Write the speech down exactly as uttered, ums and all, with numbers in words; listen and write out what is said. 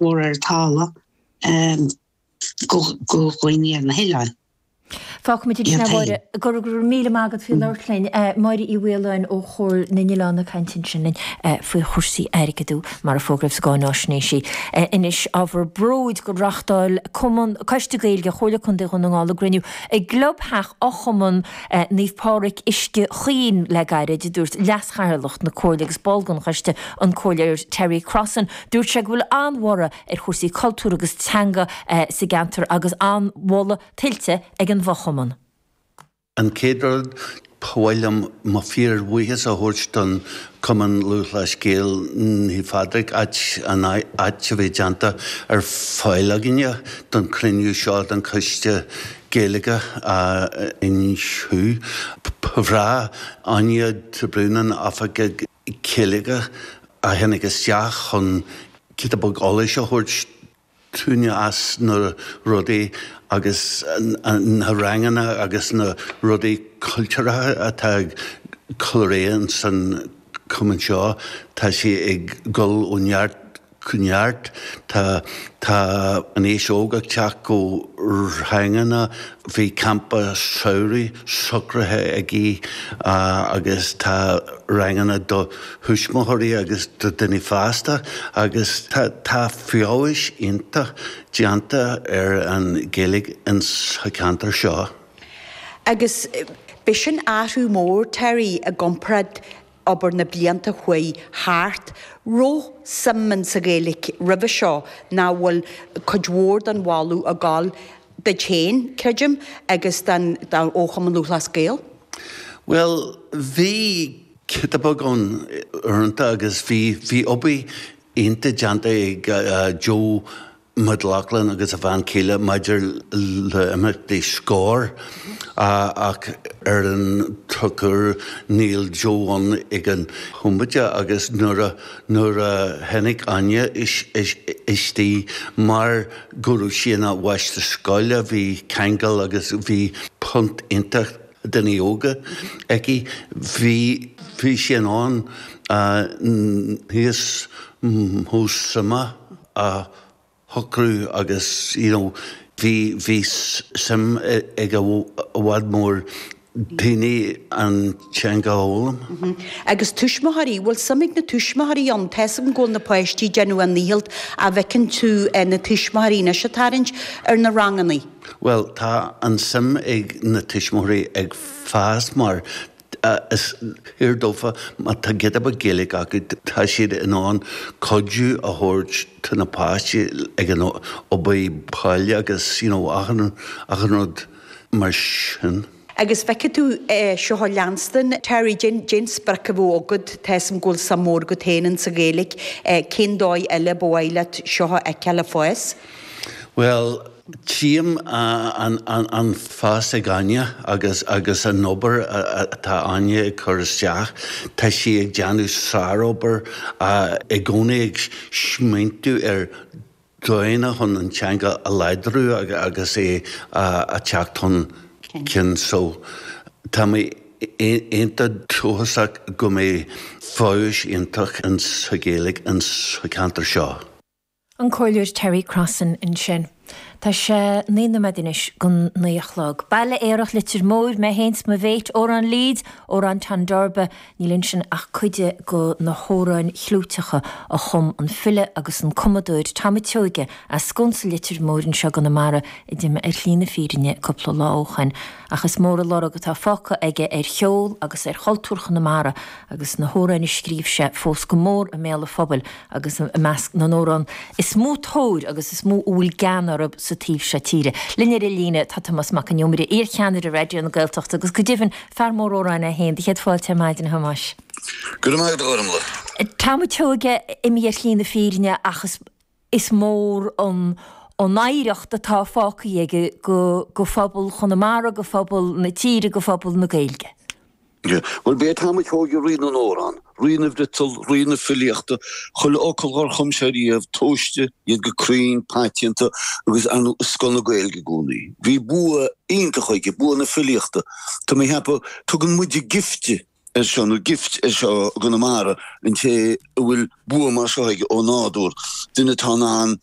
mór ar talamh go go dhaoine ar na hoileáin. Fágfaimid ansin é a Mháire, go raibh míle maith agat faoi labhairt linn. Máire Uí Mhaoláin ó Chomhairle na nOileán ag caint ansin linn faoi chúrsaí airgeadú mar a fógraíodh sa gcáináisnéis. Anois ábhar bróid gur reáchtáil Cumann Coiste Gaeilge Chomhairle Contae Dhún na nGall a gcruinniú i gclubtheach Fhochumann Naomh Pádraig Uisce Chaoin le gairid, a dúirt leaschathaoirleach na Comhairle agus ball den choiste, an Comhairleoir Terry Crossan. Dúirt sé go bhfuil an-bhorradh ar chúrsaí cultúir agus teanga sa gceantar agus an-mholadh tuillte ag an bhfochumann. An chéad rud, ba mhaith liom mo fíorbhuíochas a thabhairt don Chumann Lúthchleas Gael Naomh Phádraig, áit an áit a bhí déanta ar fáil againne don chruinniú seo den Choiste Gaeilge inniu. Ba bhreá Áine de Brún an Oifigeach Gaeilge a tháinig isteach chun giota beag eolais a thabhairt dúinne as na rudaí agus na ranganna agus na rudaí cultúrtha atá ag cur ar aghaidh san cumann seo. Tá sé ag dul ó neart go neart. Tá tá an aos óg ag teacht go ranganna, bhí campa samhraidh socraithe aici agus tá ranganna do thuismitheoirí agus do daoine fásta agus tá tá feabhas iontach déanta ar an Ghaeilge in sa cheantar seo. Agus b'é sin athrú mór, Terry, i gcomparáid obair na blianta chuaigh thart. Raibh suim in sa Ghaeilge roimhe seo ná bhfuil cuid mhór den mholadh ag gabháil duit féin, creidim, agus don ó Chumann Lúthchleas Gael? Bhuel, bhí giota beag ann uaireanta agus bhí bhí obair iontach déanta ag Joe McLaughlin agus a bhean chéile maidir le imeachtaí Scór ach ar an drochuair níl Joe ann ag an bhomaite agus nuair a nuair a tháinig Áine istigh mar go raibh sí ina mháistir scoile bhí ceangal agus bhí punt iontach daoine óga aici bhí bhí sí in ann níos mó suime a shocrú agus you know bhí bhí suim ag i bhfad mór daoine an teanga a fhoghlaim. Agus tuismitheoirí, bhfuil suim ag na tuismitheoirí ann? Tá 'fhios agam go bhfuil na páistí ag déanamh a ndícheall an bhfeiceann tú na tuismitheoirí anois ag tarraingt ar na rangannaí? Bhuel tá an suim ag na tuismitheoirí ag fás mar is fíor dófa má tá giota beag Gaeilge acu tá siad in ann cuidiú a thabhairt do na páistí ag an obair baile agus you know achan achan rud mar sin. Agus feicfidh tú seo a leanstan, Terry, cén cén sprioc a bheadh agat, tá 'fhios agam go bhfuil suim mór agat féin in sa Ghaeilge, cén dóigh eile ba mhaith leat seo a fheiceáil ag fás? Bhuel, tchím an fás ag Áine agus agus an obair atá Áine ag cur isteach. Tá sí ag déanamh sárobair i gcónaí ag smaointiú ar dóigheanna chun an teanga a láidriú agus é a teacht chun cinn. So tá mé iontach dóchasach go mbeidh feabhas iontach in sa Ghaeilge in sa cheantar seo. An Comhairleoir Terry Crossan ansin. Tá sé naoi nóiméad anois don naoi a chlog. Baile Aerach Leitir Móir, mé féin 's mo mhéit, Amhrán Leeds, Amhrán Tondorba, níl ansin ach cuid de na hamhráin chlúiteacha a chum an file agus an cumadóir Tom a' tSeoighe as Sconsa Leitir Móir anseo i gConamara a d'imigh ar shlí na fírinne cúpla lá ó shoin. Ach is mór an lorg atá fágtha aige ar cheol agus ar chultúr Chonamara agus na hamhráin a scríobh sé fós go mór i mbéal an phobail agus i measc na n-amhrán is mó tóir agus is mó a bhfuil gean orthu sa taobh seo tíre. Linn ar an líne tá Tomás Mac an Iomaire, iarcheannaire Raidió na Gaeltachta agus go deimhin fear mór amhrán é féin. Do chéad fáilte ar maidin, a Thomáis. Go raibh maith agat, a Ghormlaith. Tom a' tSeoighe imithe ar shlí na fírinne ach is is mór an an oidhreacht atá fágtha aige go go phobal Chonamara, go phobal na tíre, go phobal na Gaeilge. Bhuel, b'é Tom a' tSeoighe rí na n-amhrán, rí na bhfriotal, rí na filíochta, chuile fhocal dhár chum sé riamh, tomhaiste, iad go cruinn, paiteanta agus, ar ndóigh, i scoth na Gaeilge i gcónaí. Bhí bua iontach aige, bua na filíochta. Tá mé ag ceapadh, tugann muide gifte ar seo nó gift ar seo i gConamara an té a bhfuil bua mar seo aige ó nádúr duine atá an